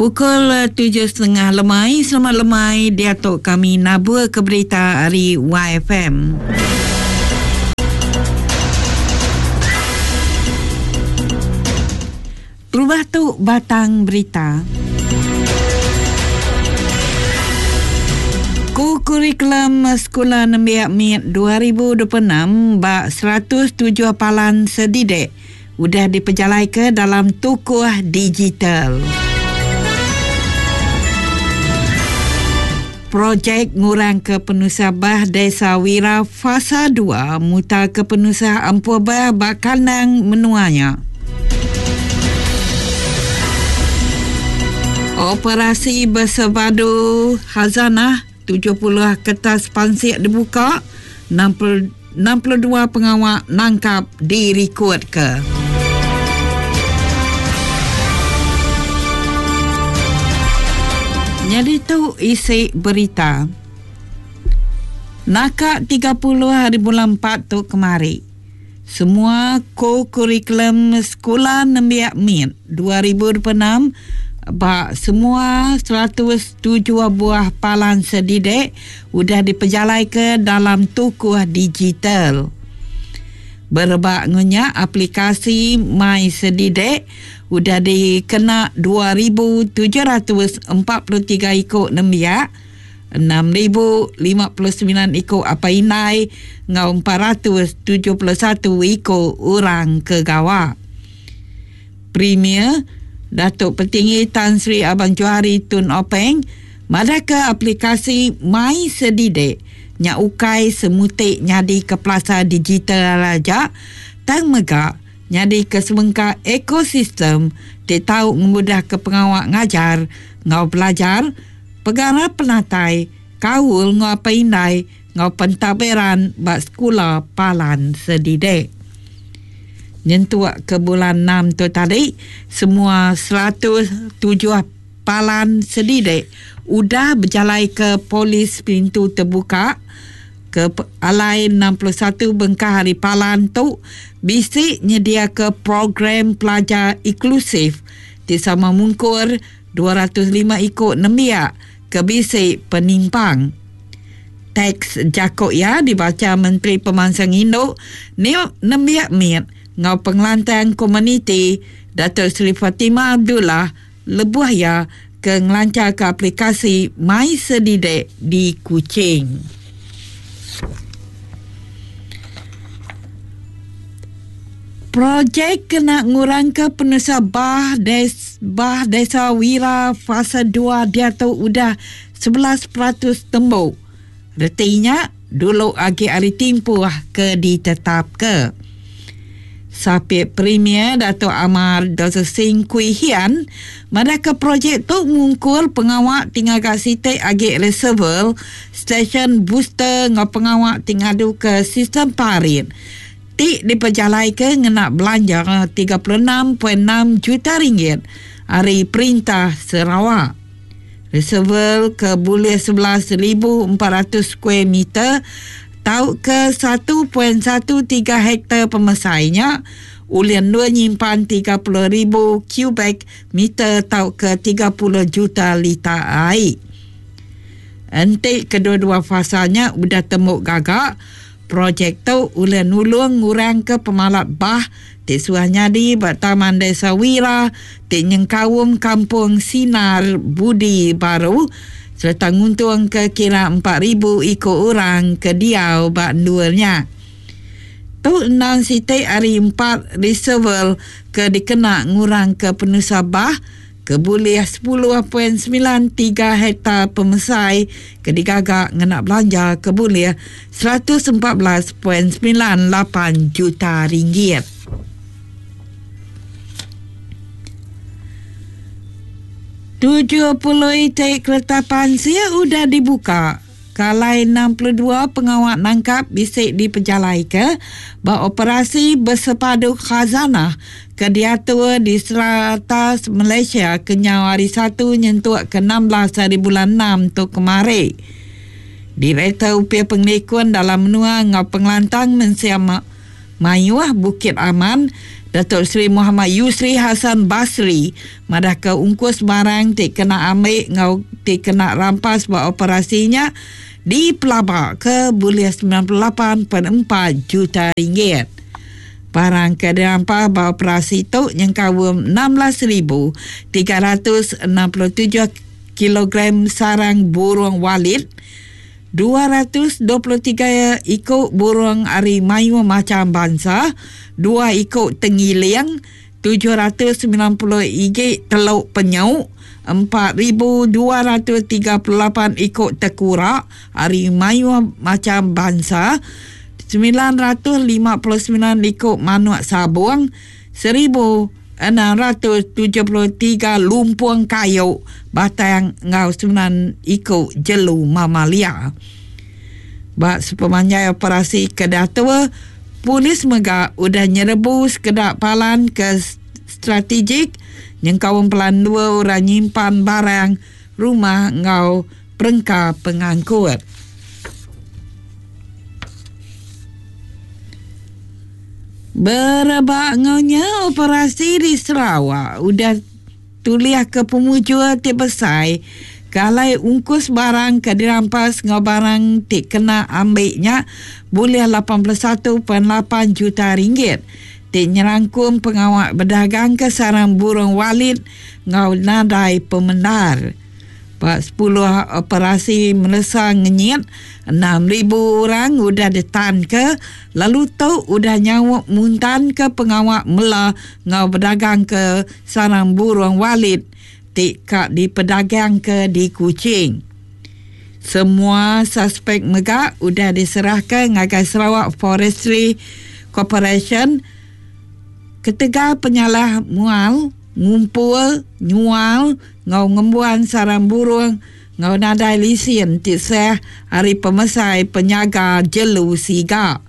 Pukul 7.30 lemai, selamat lemai diatu kami nabur ke berita ari YFM. Terubah tu batang berita. Ku kurikulum Sekula Nembiak Mit 2026 ba 107 palan sedidik udah dipejalaika dalam tukuh digital. Projek ngurangka penusah bah Desa Wira Fasa dua mutarka penusah ampuh bah ba kandang menua nya. Operasi Bersepadu Khazanah 70 kertas pansik dibuka, 62 pengawa nangkap dirikodka. Nyadi tu isi berita. Naka 30 hari bulan 4 tu kemari. Semua ko-kurikulum Sekula Nembiak Mit 2026 ba semua 107 buah palan sedidik udah dipejalaika dalam tukuh digital. Berebak enggau nya, aplikasi My Sedidik udah dikena 2743 iku nembiak, 6059 iku apai indai enggau 471 iku orang ke gawa. Premier, Datuk Petinggi Tan Sri Abang Johari Tun Openg madahka aplikasi My Sedidik nya ukai semuti nyadika pelasar digital aja tang mega nyadika sebengkah ekosistem ti tau ngemudahka pengawa ngajar enggau belajar pegara penatai, kaul enggau apai indai enggau pentadbiran ba sekula palan sedidik. Nyentuk ke bulan enam tu tadi, semua 107 palan sedidik udah bejalaika polis pintu tebuka ke alai 61 bengkah ari palan tu bisi nyediaka program pelajar inklusif ti sama mungkur 205 iku nembiak ke bisi penimpang. Teks jaku iya dibacha Menteri Pemansang Indu, Nembiak Mit enggau Pengelantang Komuniti Datuk Seri Fatimah Abdullah lebuh iya ke ngelancharka aplikasi MySedidik di Kuching. Projek kena ngurangka penusah bah des bah Desa Wira Fasa dua diatu udah 11% tembu. Reti nya, dulu agi ari timpuh ke ditetapka. Sapit Premier Datuk Amar Doktor Sim Kui Hian madahka projek tu mungkur pengawa ti ngaga siti agi reservoir, stesen booster enggau pengawa ti ngaduka sistem parit ti dipejalaika ngena belanja 36.6 juta ringgit ari Perintah Sarawak. Reservoir ke bulih 11,400 square meter tauka 1.13 hektar pemesai nya ulih endur nyimpan 30,000 kubik meter tauka 30 juta lita ai. Enti kedua-dua fasa nya udah tembu gaga, Projek tu ulih nulung ngurangka pemalat bah ti suah nyadi ba Taman Desa Wira ti nyengkaum Kampung Sinar Budi Baru sereta nguntungka kira 4,000 iku orang ke diau ba endur nya. Tu endang siti ari empat reservoir ke dikena ngurangka penusah bah ke bulih 10.93 hektar pemesai ke digaga ngena belanja ke bulih 114.98 juta ringgit. 70 iti kereta pansik udah dibuka ke alai 62 pengawa nangkap bisi dipejalaika ba operasi Bersepadu Khazanah ke diatur di serata Malaysia kenyau Hari Satu nyentuk ke 16 hari bulan enam tu kemari. Direktor Opis Pengelikun Dalam Menua enggau Pengelantang Mensia Mayuh Bukit Aman, Datuk Seri Mohamad Yusri Hassan Basri madahka ungkus barang ti kena ambi enggau ti kena rampas ba operasi nya dipelabaka bulih 98.4 juta ringgit. Barang ke dirampas ba operasi tu nyengkaum 16,367 kilogram sarang burung walit, 223 iku burung ari mayuh macham bansa, dua iku tengiling, 790 igi teluk penyu, 4,238 iku tekura ari mayuh macham bansa, 959 iku manuk sabung, 1,673 lumpung kayu batang enggau semilan iku jelu mamalia. Ba sepemanjai operasi ke diatur, polis mega udah nyerebu sekeda palan ke strategik nyengkaum pelan endur orang nyimpan barang, rumah enggau perengka pengangkut. Berebak enggau nya, operasi di Sarawak udah tulihka pemujur ti besai ke alai ungkus barang ke dirampas enggau barang ti kena ambi nya bulih 81.8 juta ringgit ti nyerangkum pengawa bedagangka sarang burung walit enggau nadai pemendar. Ba sepuluh operasi melesa ngenyit, 6,000 orang udah ditanka lalu tu udah nyaup muntanka pengawa mela enggau bedagangka sarang burung walit ti ka dipedagangka di Kuching. Semua suspek mega udah diserahka ngagai Sarawak Forestry Corporation ketegal penyalah mual, ngumpul, nyual enggau ngembuan sarang burung enggau nadai lisin ti sah ari pemesai penyaga jelu siga.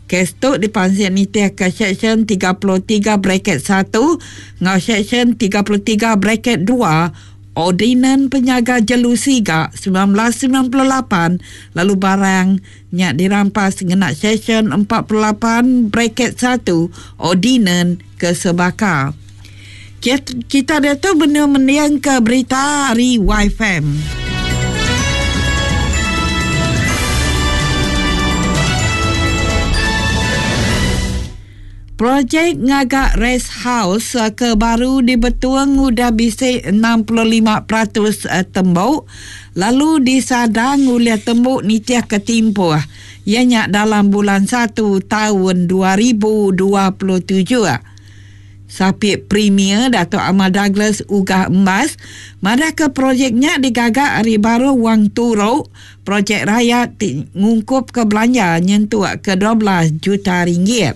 Kes tu dipansik nitihka Seksyen 33 braket satu enggau Seksyen 33 braket dua Ordinan Penyaga Jelu Siga 1998 lalu barang nya dirampas ngena Seksyen 48 braket satu Ordinan ke sebaka. Kita diatu benung mendingka berita ari YFM. Projek ngaga rest house ke baru di Betong udah bisi 65% tembu lalu disadang ulih tembu nitihka timpuh iya nya dalam bulan satu taun 2027. Sapit Premier Datuk Amar Douglas Uggah Embas madahka projek nya digaga ari baruh wang turu projek rayat ti ngungkupka belanja nyentuk ke 12 juta ringgit.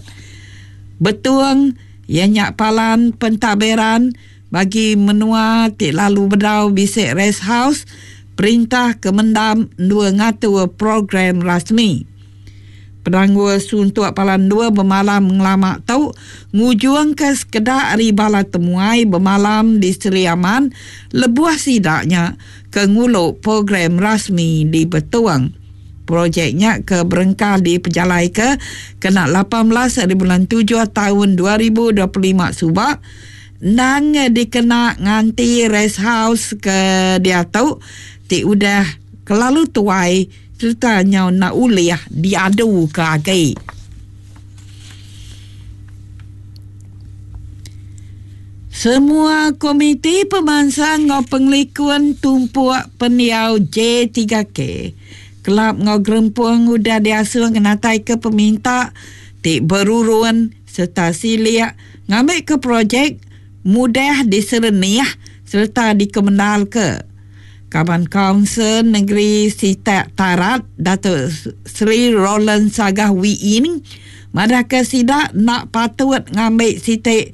Betong iya nya palan pentadbiran bagi menua ti lalu bedau bisi rest house perintah ke mendam endur ngatur program rasmi. Penanggul suntuk palan endur bemalam ngelama tu ngujungka sekeda ari bala temuai bemalam di Sri Aman lebuh sida nya ke ngulu program rasmi di Betong. Projek nya ke berengkah dipejalaika kena 18 ari bulan tujuh taun 2025 suba endang dikena nganti rest house ke diatu ti udah kelalu tuai sereta nyau enda ulih diaduka agi. Semua Komiti Pemansang enggau Pengelikun Tumpuk Pendiau J3K, kelab enggau gerempung udah diasuh ngenataika peminta ti berurun sereta silik ngambika projek mudah diserenih sereta dikemendarka. Kaban Kaunsil Negeri Sitak Tarat, Datuk Seri Roland Sagah Wee Inn madahka sida enda patut ngambi siti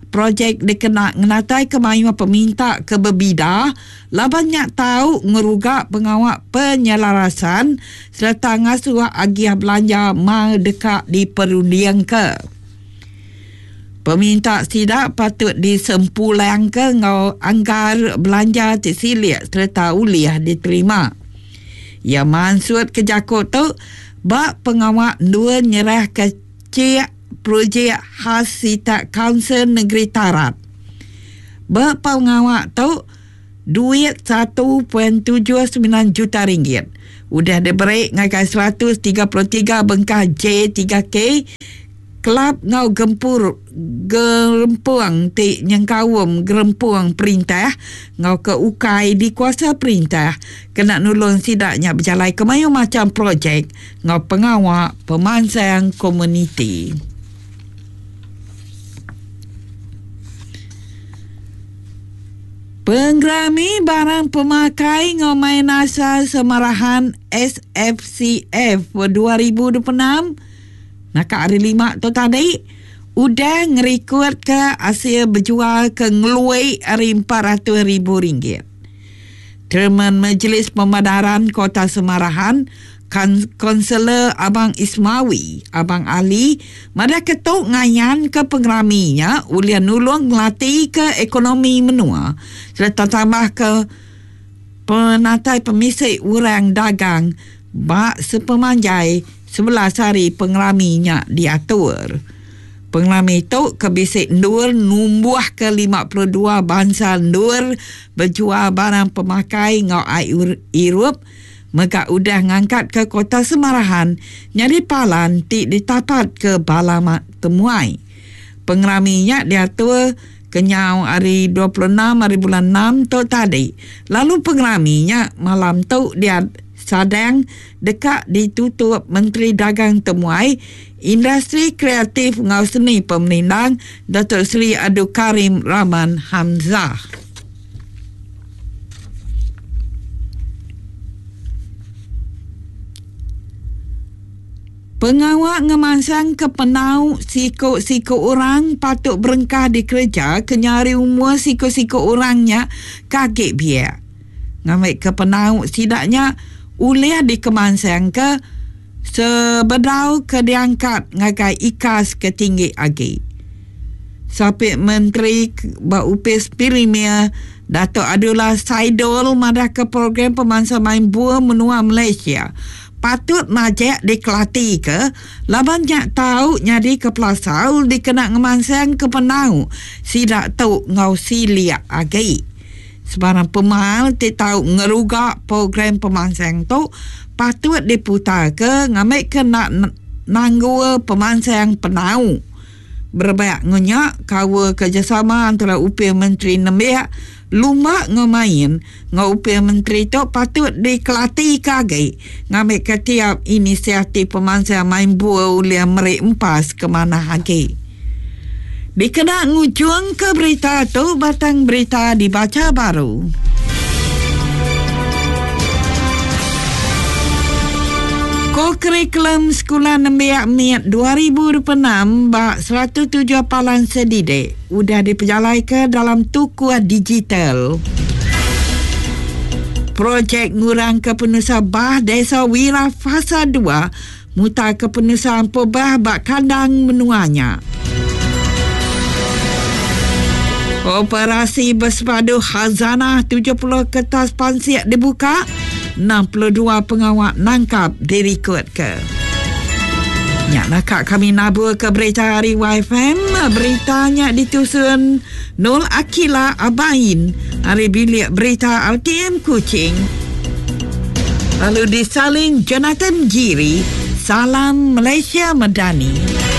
projek dikena ngenataika mayuh peminta ke bebida laban nya tau ngeruga pengawa penyelarasan sereta ngasuh agih belanja mar deka diperundingka. Peminta sida patut disempulangka enggau anggar belanja ti silik sereta ulih diterima. Iya mansutka jaku tu ba pengawa endur nyerahka chek projek khas sitak Kaunsil Negeri Tarat. Ba pengawa tu, duit 1.79 juta ringgit udah diberi ngagai 133 bengkah J3K kelab enggau gempur gerempung ti nyengkaum gerempung perintah enggau ke ukai dikuasa perintah kena nulung sida nya bejalaika mayuh macham projek enggau pengawa pemansang komuniti. Pengerami Barang Pemakai enggau Main Asal Samarahan SFCF 2026 naka hari Lima tu tadi udah ngerikodka asil bejual ke ngelui ari 400,000 ringgit. Chairman Majlis Pemadaran Kota Samarahan, Kaunselor Abang Ismawi Abang Ali madahka tu ngayanka pengerami nya ulih nulung ngelatika ekonomi menua sereta tambahka penatai pemisi orang dagang ba sepemanjai 11 hari pengerami nya diatur. Pengerami tu ke bisi endur numbuhka 52 bansa endur bejual barang pemakai enggau ai irup mega udah ngangkatka Kota Semarahan nyadi palan ti ditapatka bala temuai. Pengerami nya diatur kenyau ari 26 hari bulan enam tu tadi lalu pengerami nya malam tu disadang deka ditutup Menteri Dagang Temuai, Industri Kreatif enggau Seni Pemerindang Datuk Seri Abdul Karim Rahman Hamzah. Pengawa ngemansangka penau siku-siku orang patut berengkah dikereja kenyau ari umur siku-siku orang nya ke agi biak. Ngambika penau sida nya ulih dikemansangka sebedau ke diangkat ngagai ikas ke tinggi agi. Sapit Menteri ba Opis Premier Datuk Abdullah Saidol madahka program pemansang main bul menua Malaysia patut majak dikelatika laban nya tau nyadika pelasar dikena ngemansangka penau sida tu enggau silik agi. Sebarang pemal ti tau ngeruga program pemansang tu patut diputarka ngambika enda nanggul pemansang penau. Berebak enggau nya, kaul kerejasama antara Opis Menteri Nembiak, Lumba enggau Main enggau Opis Menteri tu patut dikelatika agi ngambika tiap inisiatif pemansang main bul ulih meri empas ke manah agi. Dikena ngujungka berita tu, batang berita dibacha baru. Kokurikulum Sekula Nembiak Mit 2026 ba 107 palan sedidik udah dipejalaika dalam tukuh digital. Projek ngurangka penusah bah Desa Wira Fasa 2 mutarka penusah ampuh bah ba kandang menua nya. Operasi Bersepadu Khazanah 70 kertas pansik dibuka, 62 pengawa nangkap dirikodka. Nya naka kami nabur ke berita ari YFM. Berita nya ditusun Nul Akila Abain ari bilik berita RTM Kuching. Lalu disalin Jonathan Giri. Salam Malaysia Madani.